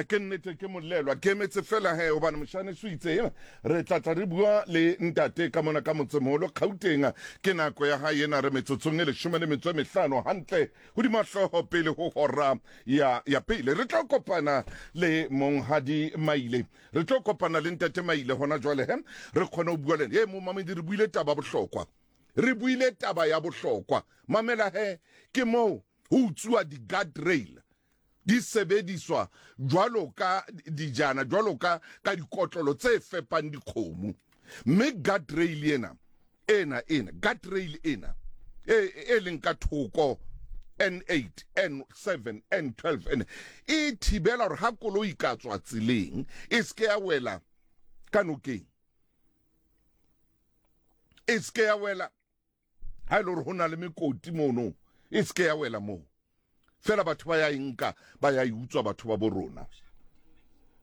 Ke nnete ke molelwa ke emetse fela he hobane moshane so itse he re tla tla re bua le ntate ka mona ka motsemoholo Gauteng. Ke nako ya hae ena re metsotsong e 15 hantle hodima hlooho pele ho hora ya ya pele. Re tlo kopana le monghadi Maile, re tlo kopana le ntate Maile hona jwale he re kgone ho bua le ena. Momamedi re buile taba bohlokwa, re buile taba ya bohlokwa. Mamela he ke moo ho utsuwa di-guard rail di sebediswa jwalo ka dijana, jwalo ka ka dikotlolo tse fepang dikgomo. Mme guard rail ena, ena, ena, guard rail ena, e, e leng ka thoko N8, N7, N12, N, e thibela hore ha koloi ka tswa tseleng, e se ke ya wela ka nokeng. E se ke ya wela ha e le hore ho na le mekoti mono, e se ke ya wela moo. Fela batho ba ya e nka, ba ya e utswa batho ba bo rona.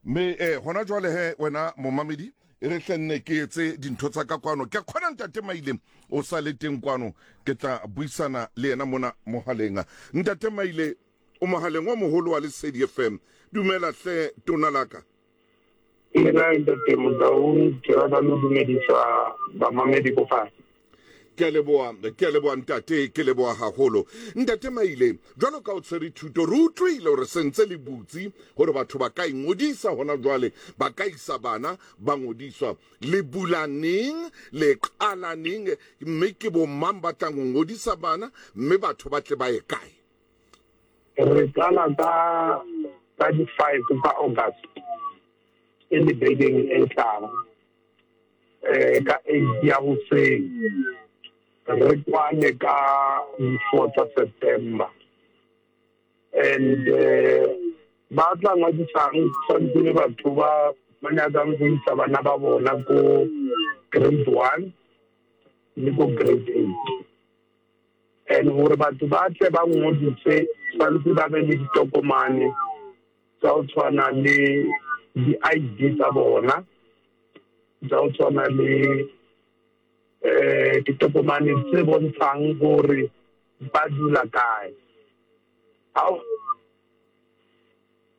Mme eh, hona jwale he wena momamedi, e re hle nne ke etse dintho tsa ka kwano. Ke kgona ntate Maile o sa le teng kwano, ke tla buisana le yena mona mohaleng. Ntate Maile, o mohaleng o moholo wa Lesedi FM. Dumela hle tona laka. Dumela ntate Motaung, ke rata le ho dumedisa bamamedi ko fatshe. Ke a leboha, ke a leboha ntate, ke leboha haholo. Ntate Maile, jwalo ka o tshwere thuto, re utlwile hore sentse le butse hore batho ba ka ingodisa hona jwale, ba ka isa bana ba ngodiswa. Le bula neng, le qala neng, mme ke bo mang ba tlang ho ngodisa bana, mme batho ba tle ba ye kae? Re qala ka ka di-five tsa August e le bekeng e tlang um ka eight ya hoseng re kwane ka di-four tsa September and eh, ba tla ngwadisang tshwanetse le batho ba ba nyakang go isa bana ba bona ko grade one le ko grade eight. And gore batho ba tle ba ngodise tshwanetse ba be le ditokomane tsa go tshwana le di-I_D tsa bona, tsa go tshwana le um ditokomane tse bontshang gore ba dula kae. Ha o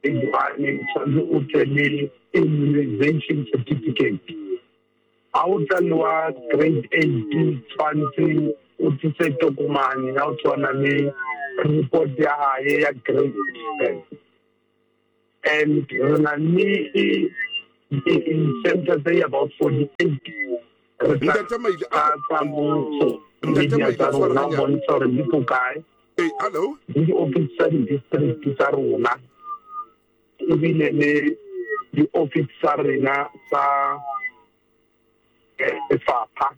tshwanetse o tle le immunization certificate. Ha o tla le wa grade eight tshwanetse o tlise tokomane ya go tshwana le report ya hae ya grade seven. And re na le di-center tse about 48 re tla Ntate Maile, a tsa mmuso Ntate media Maile, tsa tshwara rona hanyane. bontsha gore di ko kae Hey, hello. le di-office tsa di-district tsa rona ebile le di-office tsa rena tsa lefapha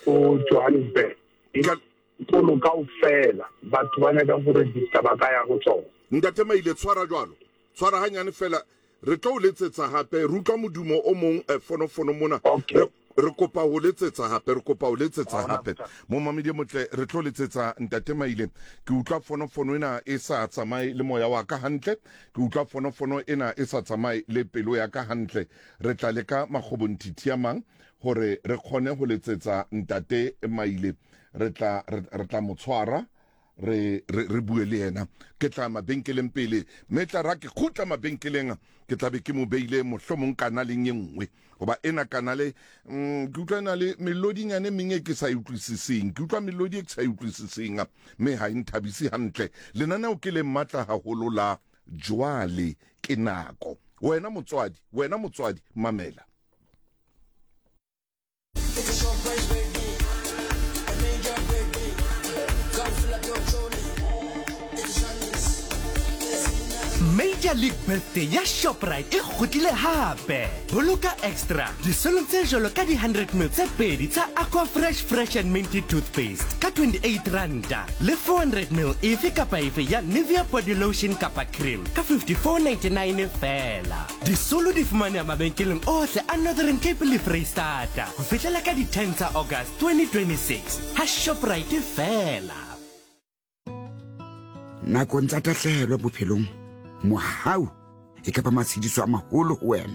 ko Johannesburg. Dikolo kaofela batho ba nyakang go register ba ka ya go tsona. Ntate Maile, tshwara jwalo, tshwara hanyane fela, re tlo o letsetsa hape. Re utlwa modumo o mong eh, fonofono mona. Okay. Re, re kopa ho letsetsa hape, re kopa ho letsetsa hape. Momamedi e motle, re tlo letsetsa Ntate Maile. Ke utlwa fonofono ena e sa tsamaye le moya wa ka hantle. Ke utlwa fonofono ena e sa tsamaye le pelo ya ka hantle. Re tla leka makgobonthithi a mang hore re kgone ho letsetsa Ntate Maile. Re tla, re, re tla mo tshwara, re, re, re bue le yena. Ke tla mabenkeleng pele, mme tla ra ke kgutla mabenkeleng, ke tla be ke mo beile mohlomong kanaleng e nngwe. Hoba ena kanale, mm, ke utlwa e na le melodinyane e meng e ke sa e utlwisiseng. Ke utlwa melodi e ke sa e utlwisiseng, mme ha e nthabise hantle. Lenaneo ke le matla haholo la Jwale ke Nako. Wena motswadi, wena motswadi, mamela. Major League Birthday ya Shoprite e kgutlile hape. Boloka extra disolong tse jwalo ka di-100 ml tse pedi tsa Aquafresh Fresh and Minty Toothpaste ka 28 ranta le 400 ml efe kapa efe ya Nivea Body Lotion kapa Cream ka 54.99 feela. Disolo di fumaneha mabenkeleng ohle a Northern Cape le Freistata ho fihlela ka di 10 tsa August 2026 ha Shoprite feela. Nakong tsa tahlehelo bophelong, mohau e ka ba matshediso a maholo ho wena.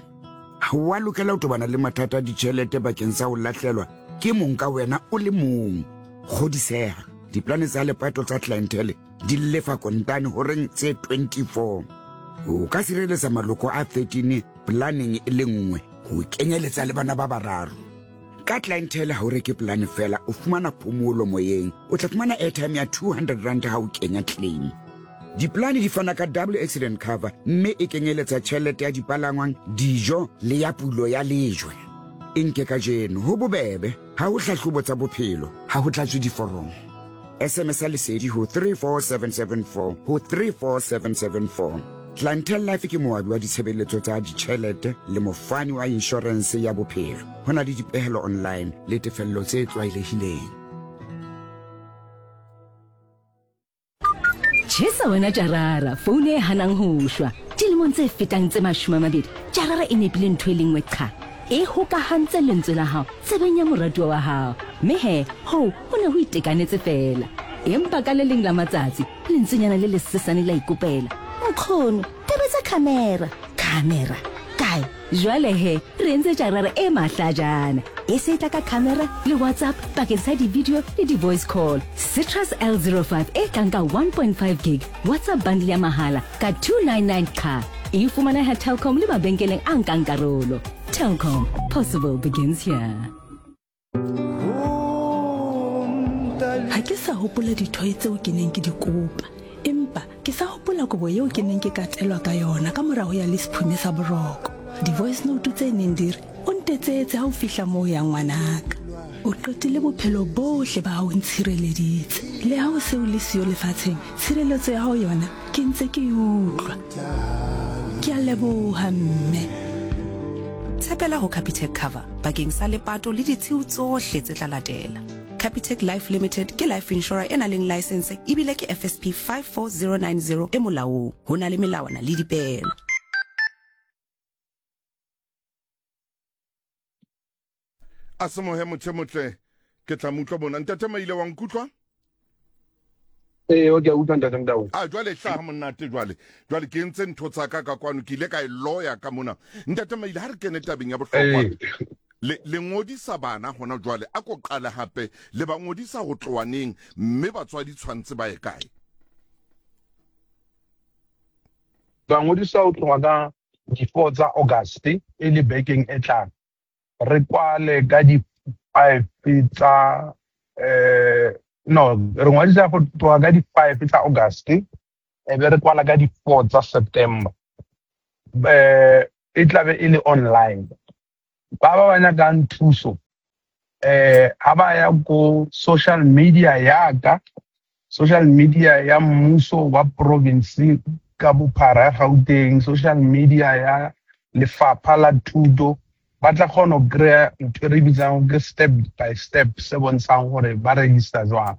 Ha wa lokela ho tobana le mathata a ditjhelete bakeng sa ho lahlelwa ke mong ka wena o le mong. Kgodiseha, diplane tsa lepato tsa Clientele di lefa kontane horeng tse 24. O ka sireletsa maloko a 13 polaneng e le nngwe ho kenyeletsa le bana ba bararo. Ka Clientele ha o reke polane fela o fumana phomolo moyeng. O tla fumana airtime ya 200 rand ha o kenya claim. Dipolane di fana ka double accident cover mme e kenyeletsa tjhelete ya dipalangwang, dijo le ya pulo ya lejwe. E nke kajeno, ho bobebe, ha ho hlahlobo tsa bophelo, ha ho tlatswe diforomo. SMS ya Lesedi ho 34774 ho 34774. Clientele Life ke moabi wa ditshebeletso tsa ditjhelete le mofani wa inshorense ya bophelo. Ho na le dipehelo online le tefello tse tlwaelehileng. Tjhesa wena Jarara, founu e hanang ho shwa. Dilemong tse fetang tse 20, Jarara e nepile ntho e le nngwe qha. E hokahantse lentswe la hao tsebeng ya moratuwa wa hao. Mme he, hoo ho ne ho itekanetse feela. Empa ka le leng la matsatsi, lentswenyana le lesesane la ikopela, Nkgono, tobetsa khamera. Khamera? Kae? Jwale he, re entse tjarara e mahlajana. E se e tla ka khamera le WhatsApp bakeng sa di-video le di-voice call. Citrus L05 e tlang ka 1.5 gig WhatsApp bundle ya mahala ka 299 qha. E fumaneha Telkom le mabenkeleng a nkang karolo. Telkom, possible begins here. Ha ke sa hopola dithoe tseo ke neng ke di kopa, empa ke sa hopola kobo yeo ke neng ke katelwa ka yona ka mora ho ya le sephume sa boroko. Di-voice note tse neng di re, O ntetsetse ha o fihla moo o yang ngwanaka. O qetile bophelo bohle ba hao o ntshireleditse. Le ha o se o le siyo lefatsheng, tshireletso ya hao yona ke ntse ke e utlwa. Ke a leboha mme. Tshepela ho Capitec Cover bakeng sa lepato le ditshiu tsohle tse tla latela. Capitec Life Limited ke life insurer e nang leng laesense ebile ke FSP 54090 e molaong. Ho na le melawana le dipeelo. A se mohe motho e motle ke tla mo utlwa mona. Ntate Maile wa nkutlwa? Ee, o ke a utlwa ntate Motau. A jwale hlaha monate jwale. Jwale ke entse ntho tsa ka ka kwano ke ile ka e loya ka mona. Ntate Maile ha re kene tabeng ya bohlokwa. Ee. Le le ngodisa bana hona jwale a ko qale hape le ba ngodisa ho tloha neng mme batswadi tshwantse ba ye kae? Ba ngodisa ho tloha ka di-four tsa August e le bekeng e tlang. Re kwale ka di-five tsa um no re ngwadisa go tloga ka di-five tsa August e be re kwala ka di-four tsa September. Um e tlabe e le online. Ba ba ba nyakang thuso eh ha ba ya ko social media ya ka social media ya mmuso wa province ka bophara ya Gauteng social media ya lefapha la thuto ba tla kgona go kry-a ntho e re bitsang ke step by step se bontshang gore ba register jwang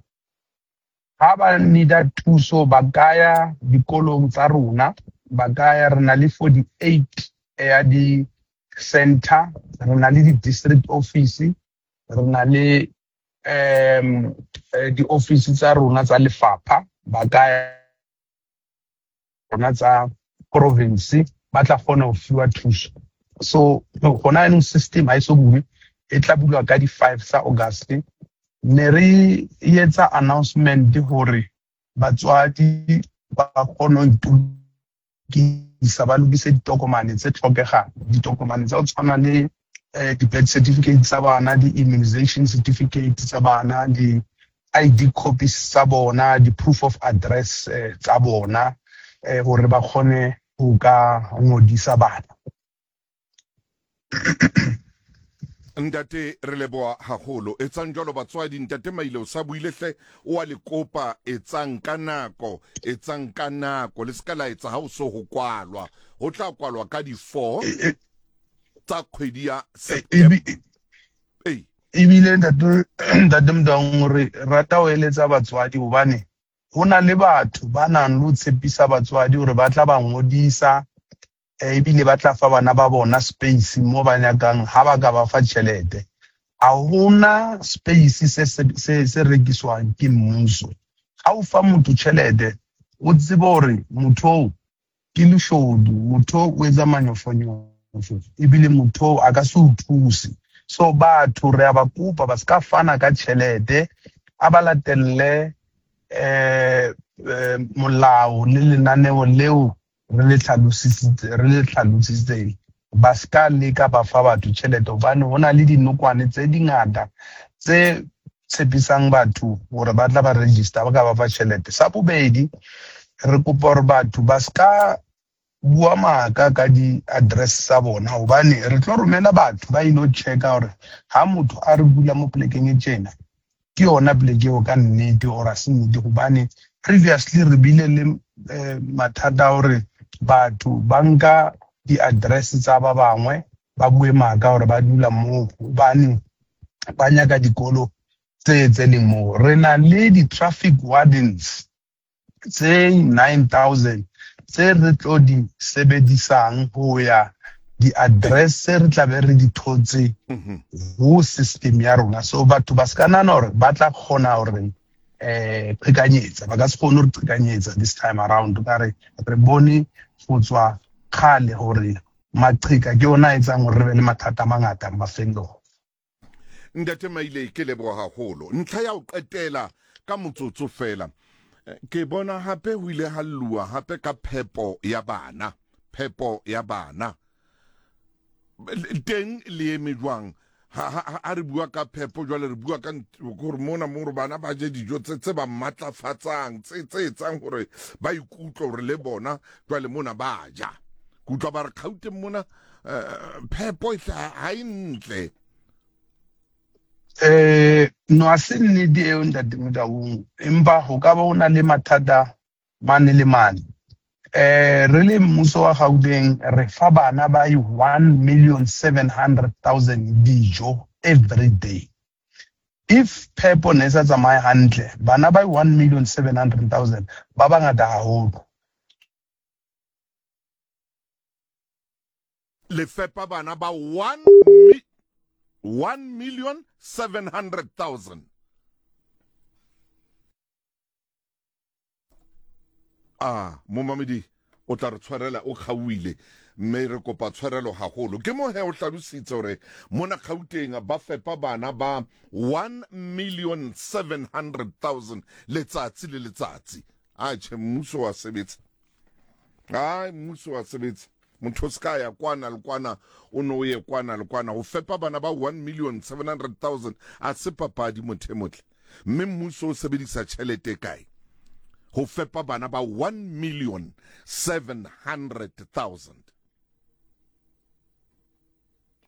ha ba needa thuso ba ka ya dikolong tsa rona ba ka ya re na le 48 ya di-center re na le di-district office re na le um di-office tsa rona tsa lefapha ba ka rona tsa province ba tla kgona ho fiwa thuso so gona yanong system ha e so bulwe e tla bulwa ka di-five tsa august ne re etsa announcement hore batswadi ba kgone ho itokisa ba lokise ditokomane tse tlhokegang ditokomane tsa go tshwana le eh, di-birth certificate tsa bana di-immunization certificate tsa bana di-id copies tsa bona di-proof of address eh, tsa bona eh, hore ba kgone ho ka ngodisa bana Ntate re leboha haholo. Etsang jwalo batswadi. Ntate Maile o sa buile hle o a le kopa etsang ka nako, etsang ka nako. Le seka la etsa ha o so ho kwalwa. Ho tla kwalwa ka di 4 tsa kgwedi ya September. Ee. Ebile ntate ntate Motaung re rata ho eletsa batswadi hobane ho na le batho ba nang le ho tshepisa batswadi hore ba tla ba ngodisa ebile ba tla fa bana ba bona space mo ba nyakang ha ba ka ba fa tjhelete. Ha hona space se se se rekiswang ke mmuso. Ha o fa motho tjhelete o tsebe hore motho oo ke leshodu, motho oo o etsa manyofonyofo ebile motho oo a ka se o thuse. So batho re a ba kopa ba ska fana ka tjhelete a ba latelle eh molao le lenaneo leo re le hlalosisitse re le hlalositseng ba ska leka ba fa batho tjhelete hobane ho na le dinokwane tse dingata tse tshepisang batho hore ba tla ba register ba ka ba fa tjhelete. Sa bobedi, re kopa hore batho ba ska bua maaka ka di-address tsa bona hobane re tlo romela batho ba ilo checka hore ha motho a re bula mo polekeng e tjena ke yona poleke eo ka nnete or a se nnete hobane previously re bile le eh, mathata a hore batho ba nka di-address tsa ba bangwe ba bue maaka hore ba dula moo hobane ba nyaka dikolo tse tse leng moo. Re na le di-traffic wardens tse 9000 tse re tlo di sebedisang ho ya di-address tse re tlabe re di thotse ho system ya rona. So batho ba se ka nahana hore ba tla kgona hore eh qhekanyetsa, ba ka se kgone hore qhekanyetsa this time around. Ka re re bone go tswa kgale hore maqheka ke ona a etsang hore re be le mathata a mangata mafellong. Ntate Maile, ke leboha haholo. Ntlha ya ho qetela ka motsotso feela. Ke bona hape ho ile ha lluwa hape ka phepo ya bana, phepo ya bana. Teng le eme jwang? Ha, ha, ha re bua ka phepo jwale re bua ka gore mona mo gore bana ba je dijo tse tse ba matlafatsang, tse tse etsang hore ba ikutlwe hore le bona jwale mona ba ja. Ke utlwa ba re Gauteng mona eh, phepo e ha e ntle. Eh, no a se nnete eo ntate Motaung, empa ho ka ba ho na le mathata mane le mane. Eh, re le mmuso wa Gauteng re fa bana ba 1,700,000 dijo every day. If phepo ne e sa tsamaye hantle, bana ba 1,700,000 ba bangata haholo. Le fepa bana ba 1 1,700,000. A momamedi o tla re tshwarela o kgaohile mme re kopa tshwarelo haholo. Ke mo he o hlalositse hore mona Gauteng ba fepa bana ba 1,700,000 letsatsi le letsatsi. Atjhe, mmuso wa sebetsa. Ai, mmuso wa sebetsa. Motho o se ka ya kwana le kwana, o no o ye kwana le kwana. Ho fepa bana ba 1,700,000 a se papadi, motho e motle. Mme mmuso o sebedisa tjhelete e kae ho fepa bana ba 1,700,000?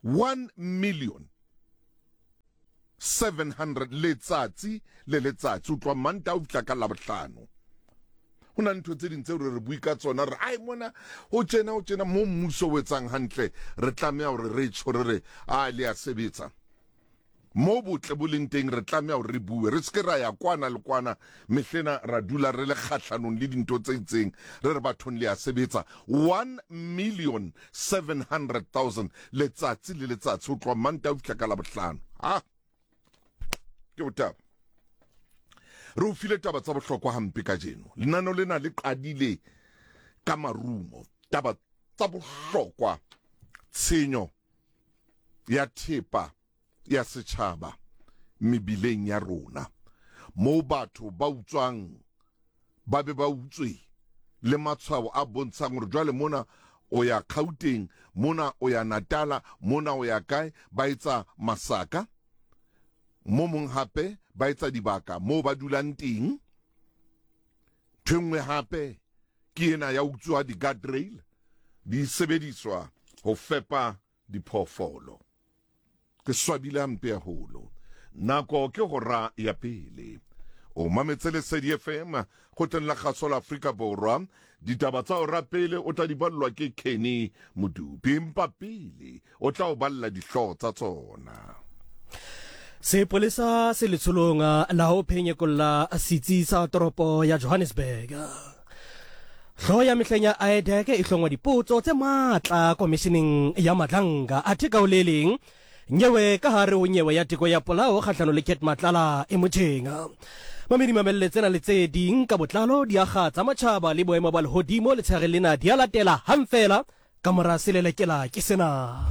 1 million 700 letsatsi le letsatsi ho tloha Mantaha ho fihla ka Labohlano. Ho na le ntho tse ding tseo re re bue ka tsona re ai mona ho tjena ho tjena mo mmuso o etsang hantle re tlameha hore re tjho re re a le a sebetsa. Mo botle bo leng teng re tlameha hore re bue, re se ke ra ya kwana le kwana mehlena ra dula re le kgahlanong le dintho tse itseng, re re bathong le a sebetsa. 1,700,000 letsatsi le letsatsi ho tloha Mantaha ho fihla ka Labohlano. Ha! Ke botaba. Re o file taba tsa bohlokwa hampe kajeno. Lenaneo lena le qadile ka marumo. Taba tsa bohlokwa, tshenyo ya thepa ya setjhaba mebileng ya rona, moo batho ba utswang ba be ba utswe le matshwao a bontshang hore jwale mona o ya Gauteng, mona o ya Natala, mona o ya kae, ba etsa masaka. Mo mong hape ba etsa dibaka moo ba dulang teng. Ntho e nngwe hape ke ena ya utswa di-guardrail di sebediswa ho fepa diphoofolo. Ke swabile hampe haholo. Nako ke hora ya pele. O mametse Lesedi FM, kgotleng la kgaso la Afrika Borwa. Ditaba tsa hora pele o tla di ballwa ke Kenny Modupi, empa pele o tla o balla dihlooho tsa tsona. Sepolesa se letsholong la ho phenyekolla setsi sa toropo ya Johannesburg. Hloho ya mehleng ya IDAC e hlongwa dipotso tse matla komisheneng ya Madlanga. Athe ka ho le leng, nyewe ka hare ho nyewe ya teko ya polao kgahlano le Cat Matlala e motjheng. Mamedi mamelle tsena le tse ding ka botlalo di akga tsa matjhaba le boemo ba lehodimo letshehare lena di a latela hang feela ka mora selelekela ke sena.